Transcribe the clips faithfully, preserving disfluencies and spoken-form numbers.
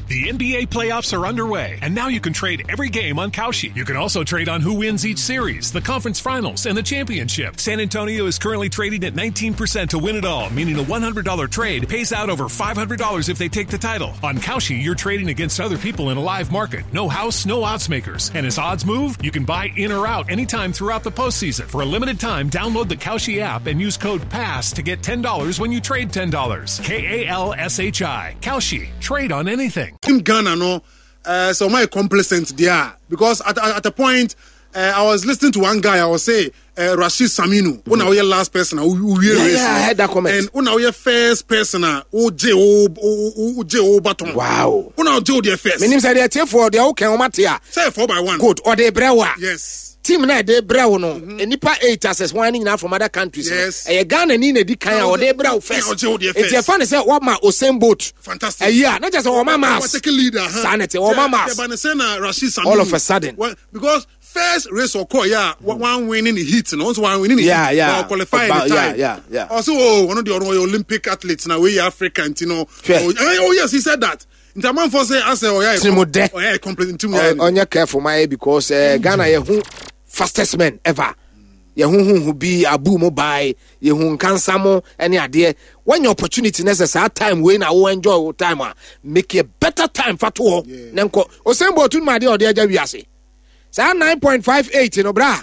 The N B A playoffs are underway, and now you can trade every game on Kalshi. You can also trade on who wins each series, the conference finals, and the championship. San Antonio is currently trading at nineteen percent to win it all, meaning a one hundred dollar trade pays out over five hundred dollars if they take the title. On Kalshi, you're trading against other people in a live market. No house, no odds makers. And as odds move, you can buy in or out anytime throughout the postseason. For a limited time, download the Kalshi app and use code PASS to get ten dollars when you trade ten dollars. K A L S H I. Kalshi. Trade on anything. Team Ghana no, uh, so my complacent there because at, at, at a point uh, I was listening to one guy. I was say uh, Rashid Saminu. Mm-hmm. Una last person who who Yeah, yeah, I heard that comment. And una first person who je o je o baton. Wow. Una je o first. Menim sɛ deɛ tiefoɔ deɛ woka wɔn ate a. Say four by one. Good, ɔde brɛ wo a. Yes. Team na ɛde brɛ wo no, nipa eight access wɔn ani nyinaa from other countries no. Yes. Ɛyɛ Ghana ni na edi kan a ɔde brɛ wo first. Ɔgye wo deɛ Eti first. ɛfa ne sɛ wɔma Usain Bolt. Fantastic. Ɛyi a na kyerɛ sɛ wɔma miles. Take leader. Huh? Saa na ɛte, wɔma miles. Yeah, but na Rashid Saminu. All of a sudden. Well, because first race ɔkɔ yeah, mm. one winning the heat no, also one winning the Yeah, heat. yeah. But qualify About- the yeah, time. yeah, yeah. Also, oh, one of the other Olympic athletes now we African, you know. Sure. Oh, eh, oh yes, he said that. Nti amanfoɔ sɛ asɛ ɔyɛ Tirimudɛ. Ɔyɛ complete nti mu Ɔ- yɛ ɔnyɛ careful ma yɛ because uh, Ghana yɛ hu fastest men ever, yɛ hu hu hu bi abu mu bae, yɛ hu nkansa mo ɛne adeɛ. Wɔnyɛ opportunity na sɛ saa time wei na wo enjoy wo time a, make a better time fa to hɔ na nkɔ Usain Bolt no mu adeɛ a ɔde agya wiase saa nine point five eight no bra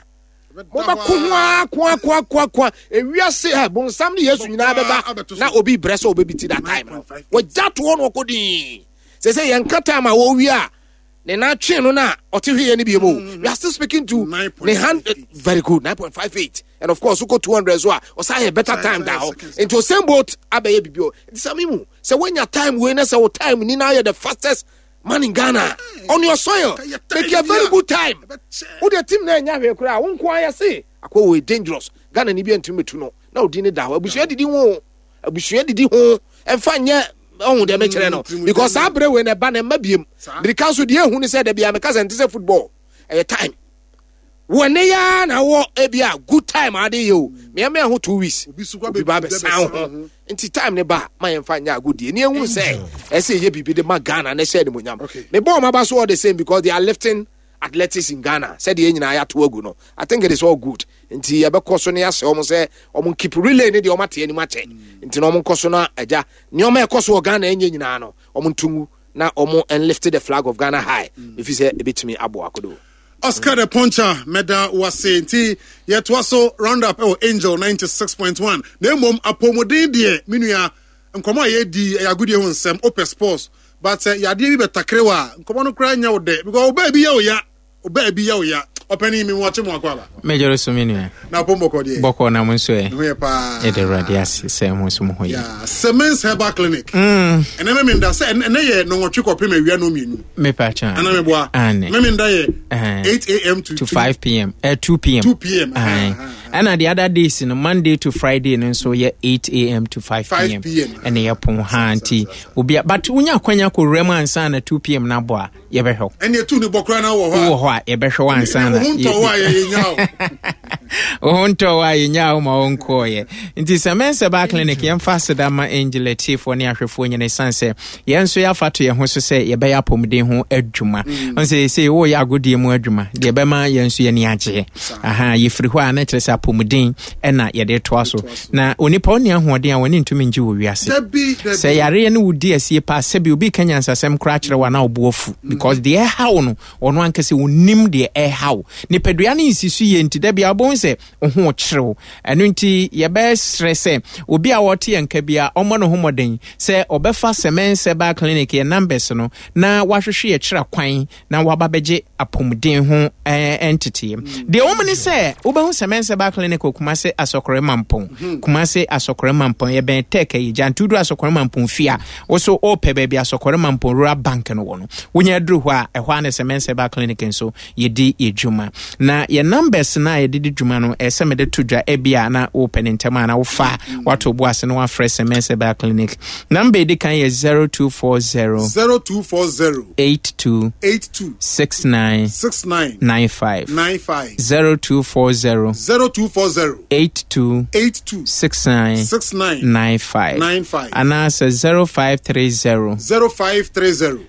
mobɛko ho a ko a ko a ko a ko a ewiase ɛ bonsam ne Yesu nyinaa bɛba abɛto so. Na obi brɛ sɛ obebi ti that time no nine point five eight. Wɔgya to hɔ na ɔkɔ dii sɛ sɛ yɛnka time a wɔwie a ne nan twe no na ɔte hweyɛ no bio mu. We are still speaking to ne hand. Very good, nine point five eight, and of course wokɔ two hundred so a ɔsan yɛ better time da hɔ. Nti Usain Bolt abɛyɛ bibi o. Nti sɛ mimu sɛ woanya time wei na sɛ wo time ni na ayɛ the fastest man in Ghana on your soil, make a very good time. Wode team na ɛnya hwee koraa, wo nko ayɛ se akɔ wei dangerous. Ghana ni bi antumi metu no na odi ne da hɔ. Abusua didi ho, abusua didi ho, ɛmfa nyɛ ɔhu deɛ mekyerɛ no because saa berɛ wei na ɛba na ɛma biem mirika nso deɛ ehu ne sɛ dabi a meka sɛ nte sɛ football, ɛyɛ time wɔ ne ya na wɔ ebi a good time ade yɛ o mmeɛmɛ ho two weeks, obi ba bɛsan ho. Nti time ne ba ma yɛmfa nyɛ agodie ne ehu sɛ ɛsɛ yɛ biribi de ma Ghana ne hyɛ animonyam. Me bɔ ɔmo aba so all the same because they are lifting athletics in Ghana sɛdeɛ yɛn nyinaa yɛato agu no. I think it is all good. Nti yɛbɛkɔ so ne yɛahyɛ wɔn sɛ wɔn keep relay ne deɛ wɔn ate anim akyɛ. Nti na wɔn nkɔ so na agya nneɛma ɛkɔ so wɔ Ghana ɛnyɛ nyinaa no, wɔn ntungu na wɔn enlift the flag of Ghana high efi sɛ ebetumi aboa kodo. Oscar the Puncher, mɛda wase. Nti yɛtoa so round up ɛwɔ Angel ninety-six point one. Na mmom apɔmuden deɛ, me nua, nkɔmɔ a yɛdi ɛyɛ agodie ho nsɛm, wopɛ sports, but sɛ yadeɛ bi bɛtakere wɔ a, nkɔmɔ no koraa nyɛ wo dɛ because ɔbaa bi yɛ wo ya, ɔbaa bi yɛ wo ya. Ɔpɛni mi wɔkye mu akɔ aba. Mɛgyere so, me nua. Na apɔ mbɔkɔ deɛ? Bɔkɔ na mo nso ɛ? Ne ho yɛ paa. Yɛde Awurade ase sɛ mo nso mo ho yɛ. Yeah, Semens Herbal Clinic. Ɛnɛ mɛmenda sɛ ɛnɛ yɛ nɔnwɔtwe kɔpem awia no mmienu. Mepa kyɛn. Ana meboa? Ane. Mɛmenda yɛ Eh. eight a m to to five p m. Uh, two p m two p m. Aye. Ɛna the other days no, Monday to Friday no nso yɛ eight a m to five p m five p m Ɛna yɛpon ha nti obi but wonya akwanya kɔwura mu ansa na two p m no abɔ a, yɛbɛhwɛ wo. Ɛne ɛtu ne bɔ koraa na wɔ hɔ a. Wowɔ hɔ a, yɛbɛhwɛ wo ansa na wo ho ntɔ wo a, yɛyɛnya wo. Wo ho ntɔ wo a, yɛnya wo ma wonkɔɔyɛ. Nti sɛ mɛnsɛ baa clinic, yɛmfa aseda ma Angel atiefoɔ ne ahwɛfoɔ nyina ɛsiane sɛ yɛn nso yɛafa to yɛn ho so sɛ yɛbɛyɛ apɔmuden ho adwuma. Ɔn sɛ sɛ woyɛ agodie mu adwuma deɛ ɛbɛma yɛn nso yɛni agyeɛ aha. Yɛfiri hɔ a, na kyerɛ sɛ apɔmuden ɛna yɛde toa so na onipa ɔne ahoɔden a wɔne ntumi ngye wɔ wiase. Dabi, dabi. Sɛ yareɛ no wodi asie paa, sɛbi obi ka nyansasɛm koraa kyerɛ wo a, na wobo afu because deɛ ɛha wo no, ɔno ankasɛ onim deɛ ɛha wo. Nipadua no nsi so yie nti da bia wobɛhu sɛ wo ho kyerɛw. Ɛno nti yɛbɛsrɛ sɛ obi a wɔte yɛn nka bia ɔmmɔ ne ho mmɔden sɛ ɔbɛfa Sɛmɛn Herbal Clinic yɛ numbers no na wahwehwɛ yɛ kyerɛ kwan na waba bɛgye apɔmuden ho ɛɛ nteteɛ. Deɛ wɔn ne sɛ wobɛhu Sɛmɛn Herbal Clinic wɔ Kumase Asɔkɔrɛ Mampɔn. Kumase Asɔkɔrɛ Mampɔn, yɛbɛn Tech ɛyɛ gyantudu Asɔkɔrɛ Mampɔn fie a wɔso ɔɔpɛ baabi Asɔkɔrɛ Mampɔn Rural Bank no wɔ no, wonya aduru hɔ a, ɛhɔ a ne Sɛmɛn Herbal Clinic nso yɛdi yɛ dwuma. Na yɛ numbers no a yɛde di dwuma no, ɛsɛ mede to dwa ebi a na wopɛ ne ntɛm a na wofa wato bo ase na wafrɛ Sɛmɛn Herbal Clinic. Number edi kan yɛ zero two four zero zero two four zero eight two eight two six nine six nine nine five. Nine five. zero two four zero zero two four zero eight two eight two six nine six nine nine five. Nine five. Anaasɛ zero five three zero zero five three zero.